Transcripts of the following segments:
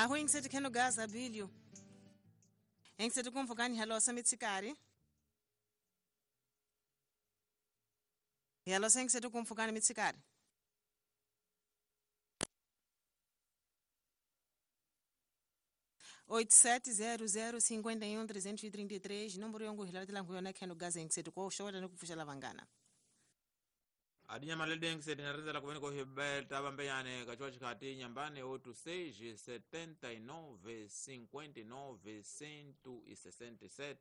Aho ingiseti kheno gaza bilio. Ingiseti kumvukani halosa mitsikari. Halosa ingiseti kumvukani mitsikari. 8700 51 333 nomboro yongo hilalatela nguyona kheno gaza ingiseti ko showata nikupfuxela vangana. Adinya malede ngiseti narezela kuveni ko hibeta vambeyane kachiwa chikati nyambane 86 79 59 167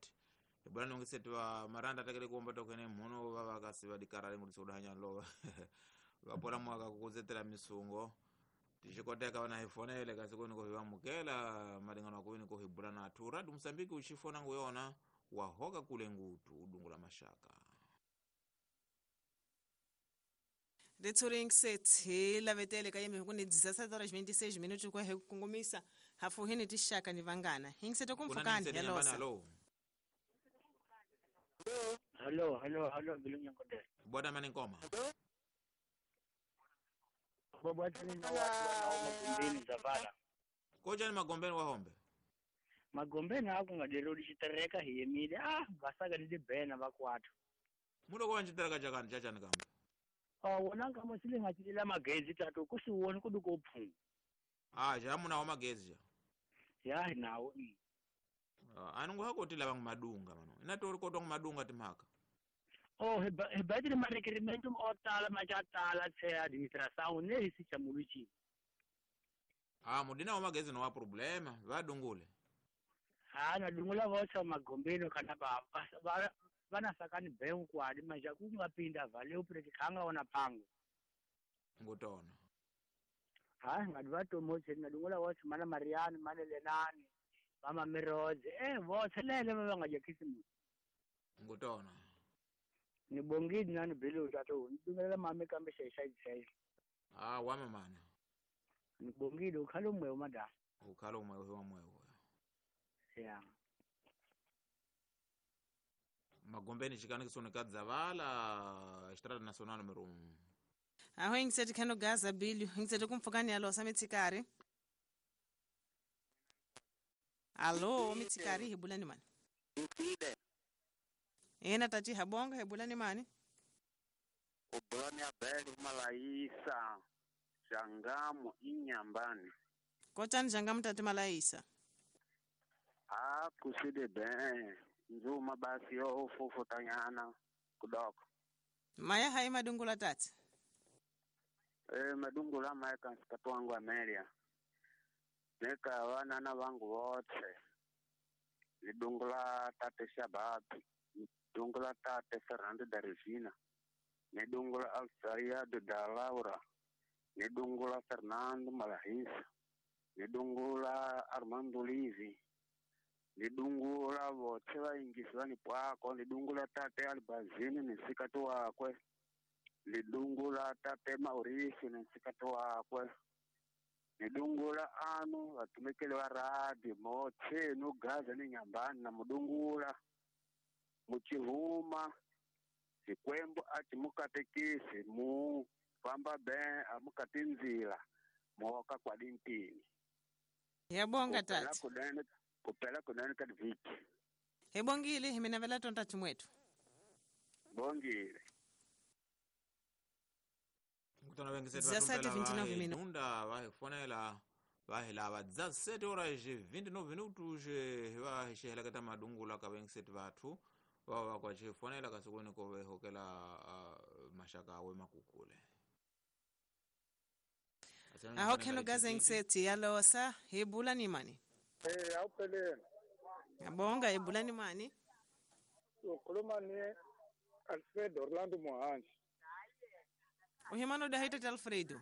ibulani ngiseti wa maranda atakele kuomba tokene muno vavakasi vadikarale ngudisa kudahanya lova vapola mwaka kukuzetela misungo tixikoteka vana hifonele kasi kweni kohivamukela malingano akuveni kohibula nathu radi Mosambiki uxifona nguyona wahoka kule ngutu udungu la mashaka. Ritshuri ngiseti hi lavetele ka yembe ku ni 17 horas 26 minutos ku hi ku kongomisa hafuhini tixaka ni vangana hingisete kumfukani. Kunani yalosa. Alo. Halo, halo, halo, Bilunya Nkodela. Bwana mani nkoma. Babwatani na watu wanao magombeni zavala. Kojani magombeni wahombe. Magombeni ako ngaderodi chitereka hiyemile. Ah, vasaka ndi bena vakwathu. Mulo kwa nchitereka chakani chachani kamba. Ah, wona ngamo sile ngachilela magezi tatu kusiwoni kuduko phungu. Ah, jamuna wa magezi ja. Ya nawo. Ah, anungu hako tila bangu madunga mano. Inatori kotwa madunga timhaka. Oh, hebadile marekerimento o tala majatala tse administração ne hisi chamuluchi. Ah, mudina wa magezi no wa problema, vadungule. Ah, na dungula vocha magombeni kana ba ba vana sakani bhengu kwadi manje kungapinda valeu preke khanga ona phango. Ngutona. Hayi ngadi vatomotse nadungula votshe mana Mariani mana Lenani mama Mirodze votshe lele va nga dya khisimusi. Ngutona. Ni bongile nani belo tato ni dungelela mame kambe xexaxaxa. Ah, wame mana. Ni bongile ukhalo mwewe madam. Ukhalo mwewe wa mwewe. Ya. Magombeni chikani kisoneka dzavala Estrada Nacional número 1. Aho ingiseti kheno gaza bilio ingiseti kumfukani yalosa mitsikari. Alo mitsikari hibulani mani. Mpide. Ena tati habonga hibulani mani. Ubulani abeli malaisa Jangamu inyambani. Kotani jangamu tati malaisa. Ah, kuside ben. Nzuma basi yo fufutanyana kudoko. Maya hai madungula tati. Madungula maya kansikatu wangu Amelia. Neka wanana wangu wote. Nidungula tate Shababi. Nidungula tate Fernando da Regina. Nidungula Alfredo da Laura. Nidungula Fernando Malahisa. Nidungula Armando Livi. Nidungula vote vaingisi vanipwako. Nidungula tate Albazini nisikati wakwe. Nidungula tate Mauricio nisikati wakwe. Nidungula anu vatumikeli va radi motse nugaza ni nyambani na mudungula muchihuma xikwembu a ci mukatekisi mu famba ben a mukati ndzila muoka kwalintini. Yabonga tati. Kupela kunene ka vhiki. Hebongile hi mina vela tonta chimwetu. Bongile. Ngutona vengisetu 17:29 minutos. Nunda vahifonela vahilava 17 horas 29 minutos vahisheheleketa madungula ka vengisetu vathu vava vakwachifonela kasi kweni ko vehokela mashaka awe makukule. Aho kheno gaza ingiseti yalosa hibulani mani. Awuphelele. Ngabonga hibulani mani. Ukhuluma ni Alfredo Orlando Mohanji. Uhimano da haita Alfredo.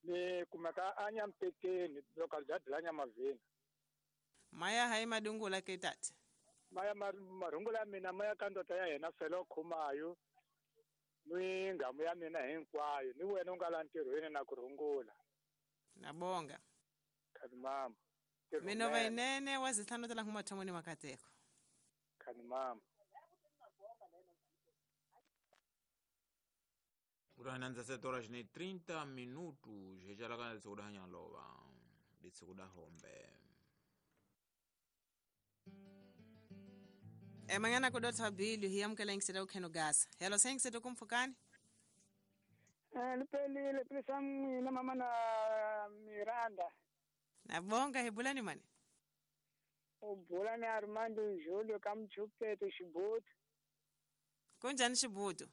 Ni kumeka anya mpekeni localidade la Nyamavini. Maya hai madungula ke tati. Maya marungula mina maya ka ndota ya yena felo khumayo. Ni ngamu ya mina hinkwayo ni wena u nga la ntirhweni na ku rungula. Nabonga. Khani mama. Mina vainene wa zitlhanu tala ngumathomoni makateko. Khani mama. Kutananza 7 horas ne 30 minutos. Rechalakana tsokuda hanya lova. Ditsikuda hombe. Emangana kudotha bilu hiyamkela ingiseta ukheno gasa. Hello sengiseta kumfukani? Lipelile pisa mina mama na Miranda. Nabonga hebulani mani? Ubulani Armando Julio kamchupeto Xibutu. Kunjani Xibutu?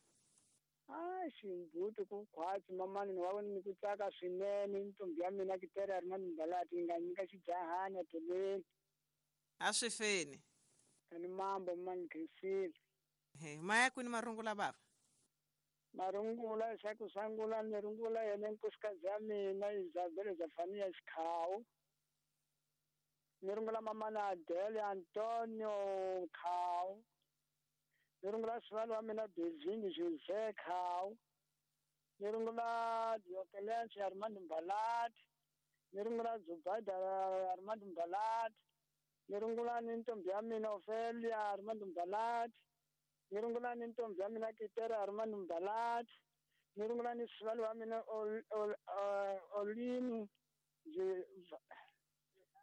Ah, Xibutu ku khwatsi mamani ni wa ni ku tsaka swinene ntombi ya mina kitere Armando Mbalati nga nyika xijahani teleni. A swi feni. Kani mambo mani khensile. He, maya kwini marungula baba? Marungula xa ku sangula ni rungula yena nkosikazi ya mina Isabel Zafania Xikhawu. Ni rungula mama na Adele Antonio Khawu. Ni rungula sivalo wa mina Beijing Jose Khawu. Ni rungula Diokelence Armando Mbalati. Ni rungula Zubaida Armando Mbalati. Ni rungula ni ntombi ya mina Ofelia Armando Mbalati. Ni rungula ni ntombi ya mina Kitera Armando Mbalati. Ni rungula ni sivalo wa mina Olini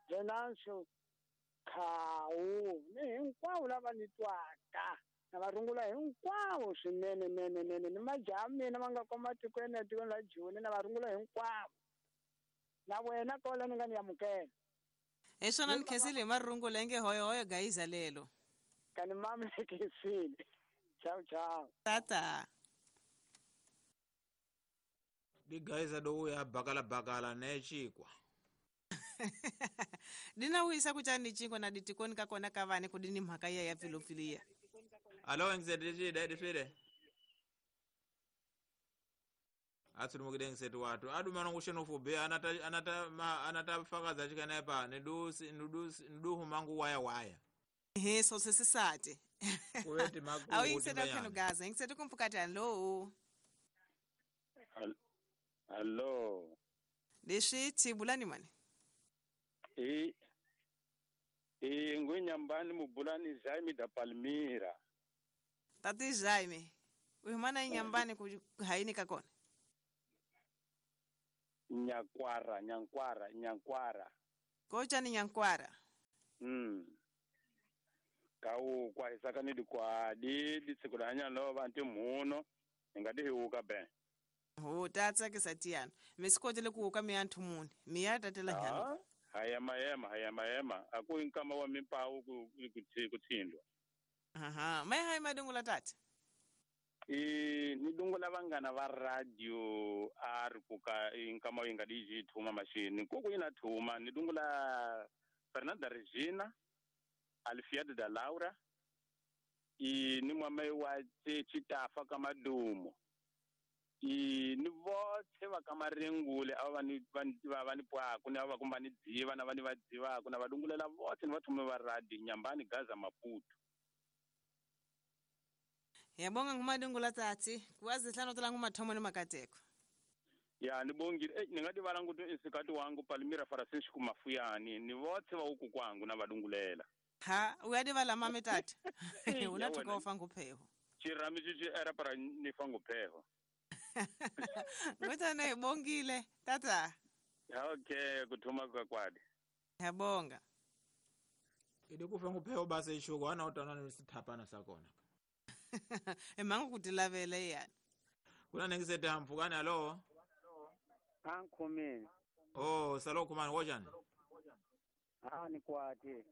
Venancio Khawu. Ni hinkwavo lava ni twaka. Na va rungula hinkwavo swinene nene nene ni majaha mina ma nga koma tikweni etikweni la Joni na va rungula hinkwavo. Na wena kola ni nga ni amukela. Hi swona ni khensile hi marungula inge hoyohoyo gayiza lelo. Kani mama ni khensile. Ciao ciao. Tata. Digayiza do ya bakala bakala ne chikwa. Dina wisa kuchani chikwa na ditikoni kakona kavani kudini mhaka ya ya pfilofilia. Alo ngisedishide dishide. Atsulu ngisetu watu. Adu mano kusheno fube anata anata ma anata fakaza chikanepa nidusi nidusi niduhu mangu waya waya. He so sesisate. Kuweti maku. Awu ngisetu kheno gaza ngisetu kumfukati alo. Hello. Leswi bulani mani? Ngwenyambani mubulani Jaime da Palmira. Tati Jaime, uhimana inyambani ku haini kakona? Nyakwara, nyankwara, nyankwara. Kocha ni nyankwara. Kau kwa hisaka ni kwa di ditsikula lo bantu muno ngadi huka ben. Ho tatsa ke satiana. Misikotele ku uka mianthu muni. Miya tatela nyana. Haya mayema, haya mayema. Aku inkama wa mimpawu kutsindwa. Aha, mai hai madungula tata. Ni dungula vangana va radio ari kuka inkama inga diji thuma machine. Koko ina thuma ni dungula Fernanda Regina, Alfiado da Laura. Ni mwamai wa Chitafa kamadumo. Ni vothe va ka Marengule a va ni va ni pwaku ni va kumba ni dziva na va ni va dzivaka na va dungulela vothe ni va thume va radio Nyambani Gaza Maputo. Yabonga ngumadungula tati kuwazi hlano tola ngumathomo ni makateko. Ya ni bongile ni nga divala nguto isikati wangu Palmira Francisco Mafuyani ni vothe va uku kwangu na va dungulela. Ha uyadivala mame tati. Unathuka ufa ngupheho. Chirami chichi era para ni fa ngupheho. Ngutana ibongile tata. Okay, kuthuma kwa kwadi. Yabonga. Idikufa ngupheho base ishuko ana utana nisithapana sakona. Emangu kutilavele yani. Kuna nengisete hamfukani alo? Ankhumini. Oh, salo kumani wojani? Ah, ni kwati.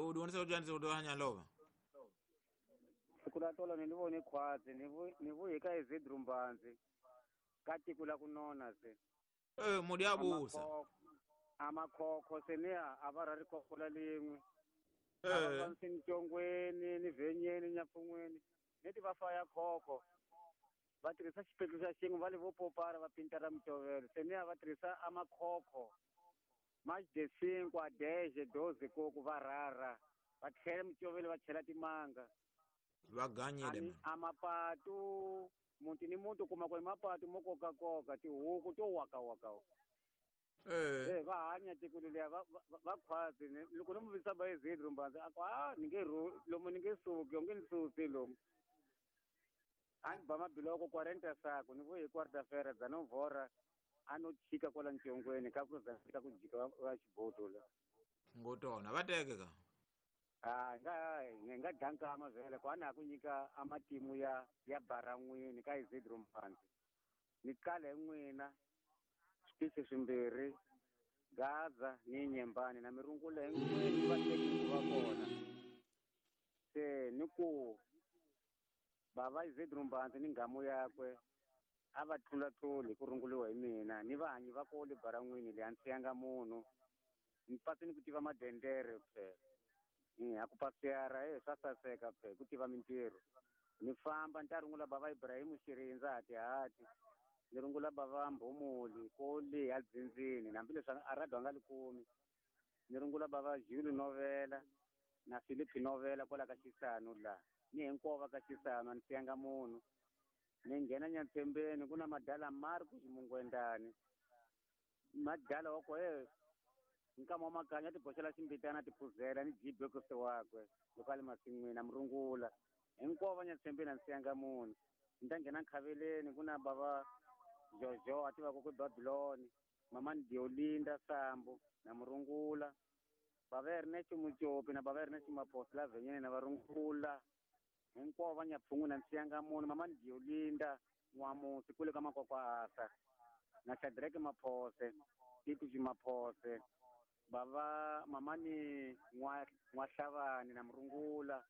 Udonisa ujani udohanya lova. Sikula tolo nilivone khwazi nivuhika izidrumbanzi katikula kunona se. Mudiabusa. Amakhokho seniya abarari khokhola lingwe. Abansintongweni ni venyeni nyapfungweni neti va faya khokho. Va tirhisa xipetlu xa xin'we va le vo popara va pintara mitovelo seniya va tirhisa amakhokho. Mais de 5 a 10, 12 koko va rara. Va tlhela mitovelo va chela timanga. Vaganyile amapatu muti ni muti kuma ku mapatu mo koka koka tihuku to waka waka. Va hanya tiko leliya va khwazi loko no muvisa ba ezidrumbanzi a ku a ni nge lomu ni nge suki onge ni susi lomu. A ni ba mabiloko 40 sako ni vuyi quarta-feira dza novhora A no chika kwala ncongweni ka ku za ka ku jika va xibodo la. Ngotona va teke ka. A nga hi nga dlankama vhele ku a na ha ku nyika a matimu ya baran'wini ka Isidro Mpanzi. Ni kale hi n'wina switichi swimbirhi Gaza ni Nyembani na mirungula hinkwenu va teki ku va kona. Se ni ku bava Isidro Mpanzi ni nghamu yakwe a va tlulatluli ku runguliwa hi mina ni vahanyi va kole baran'wini leyi a ni siyanga munhu ni pasi ni ku tiva madendere phela. A ku pasiyara swa saseka phela ku tiva mintirho. Ni famba ni ta rungula bava Ibrahim Xirindza hatihati ni rungula bava Mbhomoli kole a dzindzini hambileswi a radio a nga li kumi. Ni rungula bava Jules Novela na Philip Novela kwala ka Xisanu la ni hinkwavo va ka Xisanu a ni siyanga munhu. Ni nghena Nyatsembeni ku na madala Marcus Mungwendani madala wa ko nkama wa makanya ti boxela ximbitana ti phuzela ni jibekose wakwe loko a le masin'wini a murungula hinkwavo va Nyatsembeni a ni siyanga munhu. Ni ta nghena Nkhaveleni ku na bava Jojo a tivaka ku Babiloni mamani Diolinda Sambo na murungula bava Ernest Mucopi na bava Ernest Maposi la Venyeni na varungula hinkwavo va Nyapfungwini a ni siyanga munhu mamani Diolinda N'wamusi kule ka Makwakwa Asa na Shadrack Maphose Titi Maphose bava mamani N'wahlavani na murungula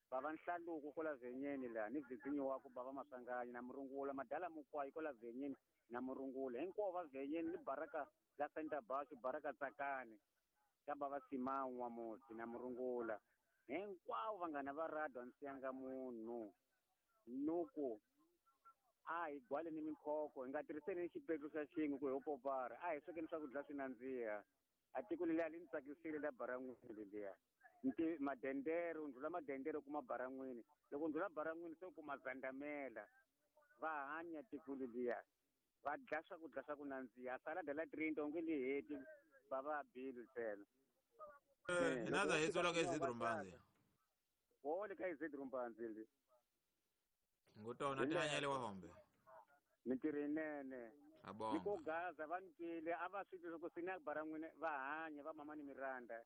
bava Nhlaluko kola Venyeni la ni Vizinyo wako bava Maswanganyi na murungula madala Mukwayi kola Venyeni na murungula hinkwavo va Venyeni ni Baraka la Center Bashu Baraka Tsakani ka bava Simao N'wamusi na murungula hinkwavo vanghana va radio a ni siyanga munhu. Nuku a hi gwale ni minkhoko hi nga tirhiseni xipetlu xa xin'we ku hi popara a hi swekeni swakudya swi nandziha. A tiko leliya li ni tsakisile la baran'wini leliya. Nti madendere u ndlula madendere u kuma baran'wini loko u ndlula baran'wini se u kuma zandamela va hanya tiko leliya va dya swakudya swa ku nandziha salada la trinta u nge li heti va va bili ntsena. Hina za hetsola ka Isidro Mpanzi. Wole ka Isidro Mpanzi li. Ngotona tihanyele wa hombe. Mintirho yinene. Abonga. Ni ko Gaza va ni twile a va swi twi ku sina baran'wini va hanya va mama ni Miranda.